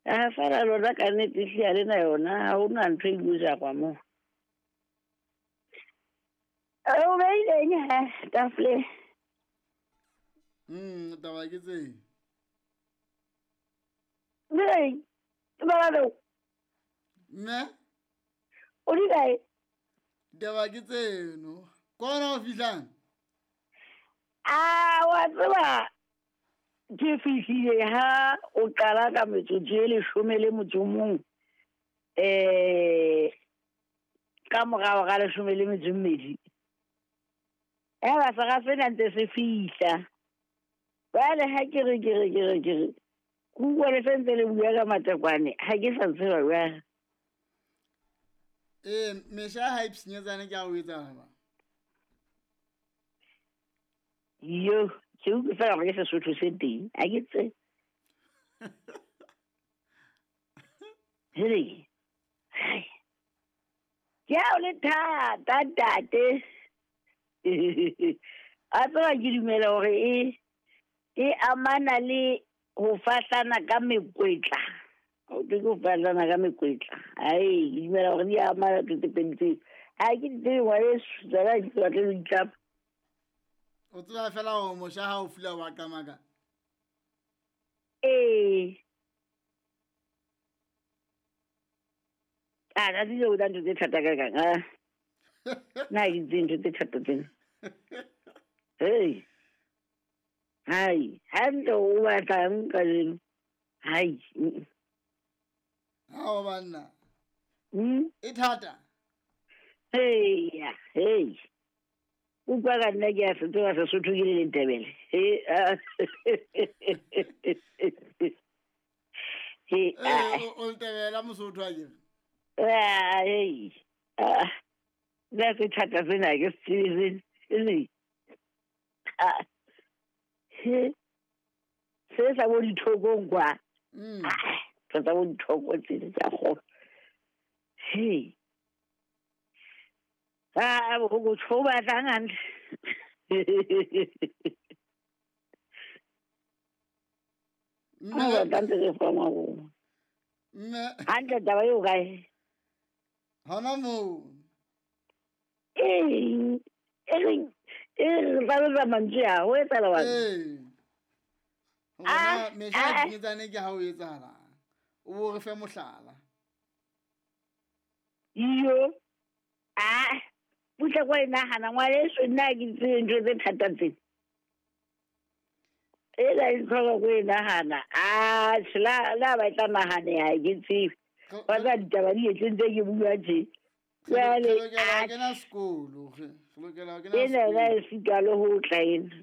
A fela lona ka nnete ehlile ha le na yona, ha ho na ntho e ilo jarwa moo. O beileng he tafoleng? Taba ke tseng. Direng? Ke Mme? O di kae? Taba ke tseno. Kona o fihlang? A wa tseba ke fihlile ha o qala ka metsotso e 11 ka morao ga 12. Eba sera sena ntse se fihla. Jwale ha ke re ke re ke re ke re ke utlwa le se ntse le bua ka matekwane, ha ke sa tseba jwang. Ee, mesha ha e pshinyetsane ke a o etsahala ba? Yo, ke utlwe fela gore ke Sesotho se teng, ha ke tsebe. Hele, hai. Ke ha o le thata ntate. A tseba ke dumela hore e amana le ho fahlana ka mekwetla. Ho thwe ke ho fahlana ka mekwetla. Ai, ke dumela hore di amana tse tse pedi tseo. Ha ke di tsebe ngwaneso, tsona ha ke batle ho itlama. O tseba fela hore mosha ha o fula wa qamaka? Ee. A ka tsile o tla ntho tse thata ka kang, ah. Nna ha ke tsebe ntho tse thata tsena. Hey. Hai, hantle o batlang kajeno. Hai. Ha o banna. E thata. Hey, ya, hey. Utlwa ka nna ke a se tseba Sesotho ke le Letebele. He, ah. He, ah. O Letebele Mosotho a kere? Ah, hey. Ah. Nna se thata sena ke se tsebe se. Ah. He. Se sa bo dithokong kwa. Ah, tsa bo dithoko tse tsa go. He. Ah, bo go tsho ba tlang hantle. Mme Ba tla ntse re fa ngwa. Mme. Hantle taba eo kae? Hona moo. Ee, e re e re hlalosa mantswe a, ho etsahala wa? Ee. Ah, Hona mesha ah. dinyetsane ke ha o etsahala. O bo re fe mohlala. Iyo. Ah, butla kwa e nahana ngwaneso nna ha ke tsebe ntho tse thata tse. E la e tlhoka ko e nahana. Ah, la ba tla nahaneha ha ke tsebe. Wa tseba ditaba di etse ntse ke bua tje. Re Jwale, lokela ho ah, kena sekolo, re lokela ho kena ena yona sekolo. e sitwa le ho tla ena.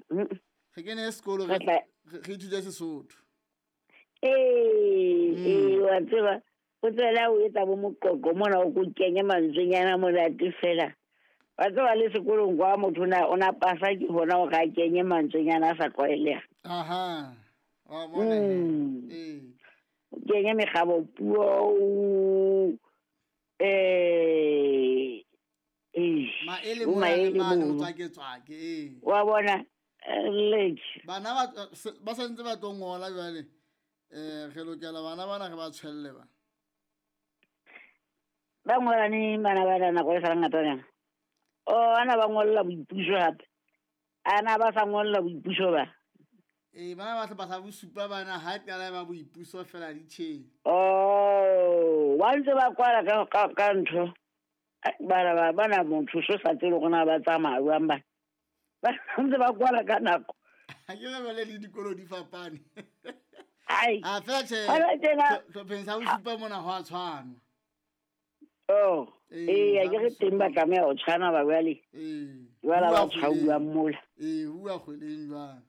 Re kene sekolo, Re tla re ithute Sesotho. Ee, ee, wa tseba, o tswela o etsa bo moqoqo mona o ko kenye mantswenyana monate fela. Wa tseba le sekolong kwa motho o na pasa ke hona hore a kenye mantswenyana a sa tlwaelehang. Aha. Wa bona he. Ee. O kenye mekgabo puo, Maele o mona le maele mane, o mono. tswake-tswake, ee. Wa bona, leke. Bana ba santse ba tlo ngola jwale. Re lokela bana bana re ba tshwelle ba. Ba ngola neng bana bana nako e sa le ngata nyana? Oh, ana ba ngolla boipuso hape. Ana ba sa ngolla boipuso ba? Ee, bana ba hlopha sa bosupa bana ha qala ba boipuso fela di tjhe. Oh, ba ntse ba kwala ka ntho. Bana ba bana motho so sa tsebe hore na ba tsamaya jwang ba. Ba ntse ba kwala ka nako. Ha ke re jwale le dikolo di fapane. Ai. A fela tjhe. Hona tjena. Hlopheng sa bosupa mona ho a tshwanwa. Oh, Ee, ee, ha ke re sa teng ba bosupa. tlameha ho tshwana ba jwale. Ee. Jwale Bua ba kgweleng. tshwauwa mola. Ee, bua kgweleng jwale.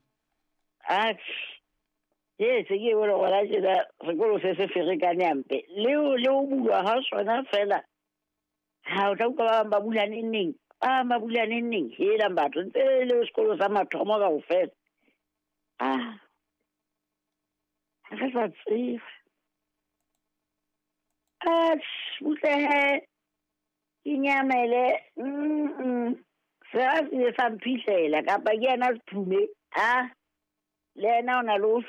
Atjhe. Ee, se ke bone gona tjena sekolo se se ferekane hampe. Le ho bulwa ha sona fela. Ha o tla utlwa ba bang ba bula neng neng. Ba bang ba bula neng neng. Helang batho, ntse le sekolo sa mathomo kaofela. Ah. Ha re sa tseba. Atjhe, butle he. Ke nyamele. Se a se sa mphihlela kapa ke yena Sephume. Ah. Le yena o na le ho